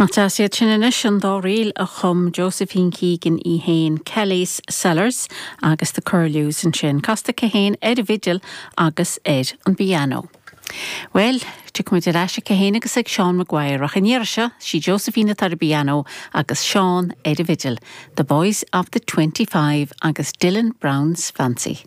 Nach deas iad sin anois, an dá ríl a chum Josephine Keegan í fhéin, Kelly's Cellars agus The Curlews ansin, casta aici fhéin ar an bhfidil agus ar an bpianó. Bhuel, tiocfaimid ar ais aici fhéin agus ag Seán Maguire, ach an iarraidh seo, sí Josephine atá ar an bpianó agus Seán ar an bhfidil, The Boys of the 25 agus Dylan Brown's Fancy.